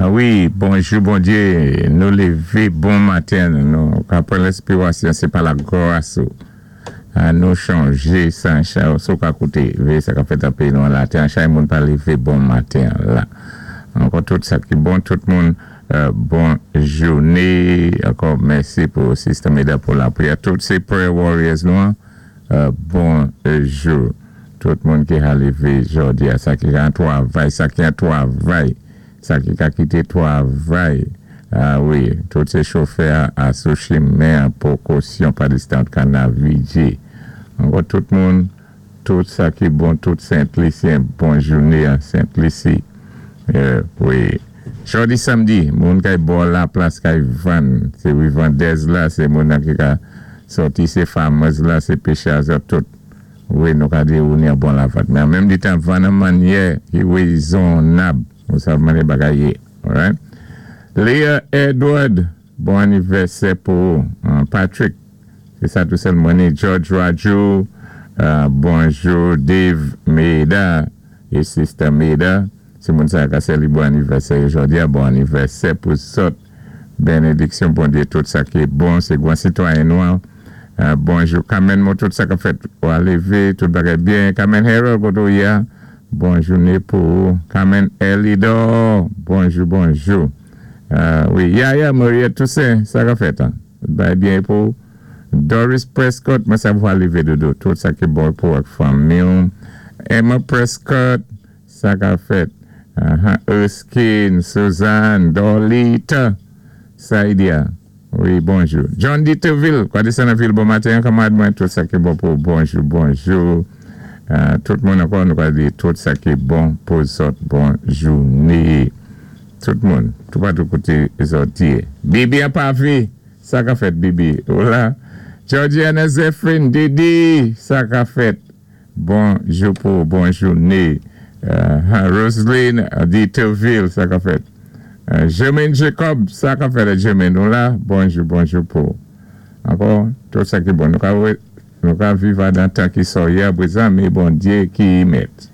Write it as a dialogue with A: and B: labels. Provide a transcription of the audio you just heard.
A: Wi, bonjou Bondyé, nou lévé bon maten, nou ka pran lenspirasyon sé pa lagras ou. An nou chonjé san si ou ka kouté véyé sa k-ap fèt an péyi nou an latè an chay moun pa lévé bon maten la. Ankò tout sa ki bon, tout moun bon jouné. Ankò mèsi pou Sister Meda pou lapriyè. Tout sé prayer warriors nou an, bonjou. Tout moun ki ka lévé jòdi a, sa ki ka an twavay, sa ki an twavay, sa ki ka kité twavay. A wi, tout sé chofè a sou chimen an, pwékosyon pa distan ka navigé. Ankò tout moun, tout sa ki bon, tout Sent Lisyen, bon jouné an Sent Lisi. Wi. Jòdi samdi, moun kay bò la plas kay vann, sé wi vandèz la, sé moun nan ki ka sòti, sé farmers la, sé péchè zòt tout. Wi, nou ka di ou ni an bon lavant. Men an menm di tan vann an mannyè ki wézonnab. Ou sav mannyè bagay yé. Alright. Leah Edward, bon anivèsè pou ou. Patrick, sé sa tou sèlman ni George Raju, bonjou Dave Meda é Sister Meda. Si moun sa ka sè li bon anivèsè yo jòdi a, bon anivèsè pou zòt. Bénédiksyon Bondyé, tout sa ki bon, sé gwan sitwayen nou an. Bonjou Carmen Mo, tout sa k-ap fèt ou a lévé, tout bagay byen. Carmen Harold, koté ou yé a? Bon jouné pou ou. Carmen Elidor, bonjou, bonjou. Wi, Yaya Mariette Toussaint, sa k-ap fèt an? Tout bagay byen pou ou? Doris Prescott, mwen sa pou a lévé dodo, tout sa ki bon pou ak fanmi ou. Emma Prescott, sa k-ap fèt? Erskine, Suzanne, Dorlita, Saidia. Wi, bonjou. John Diterville, kwa desann an vil bon maten, kanmarad mwen, tout sa ki bon pou bonjou, bonjou. Tout moun ankò, nou ka di tout sa ki bon pou zòt bon jouné. Tout moun, toupatou koté zòt yé. Bibi an pavé, sa k-ap fèt Bibi? Ou la? Georgiana Zephyrin, Didi, sa k-ap fèt? Bonjou pou bon jouné. Roseline Diterville, sa k-ap fèt? Germaine Jacob, sa k-ap fèt Germaine ou la? Bonjou, bonjou pou ankò tout sa ki bon. Nou ka viv adan tan ki sòyè prezan, mé Bondyé ki mèt.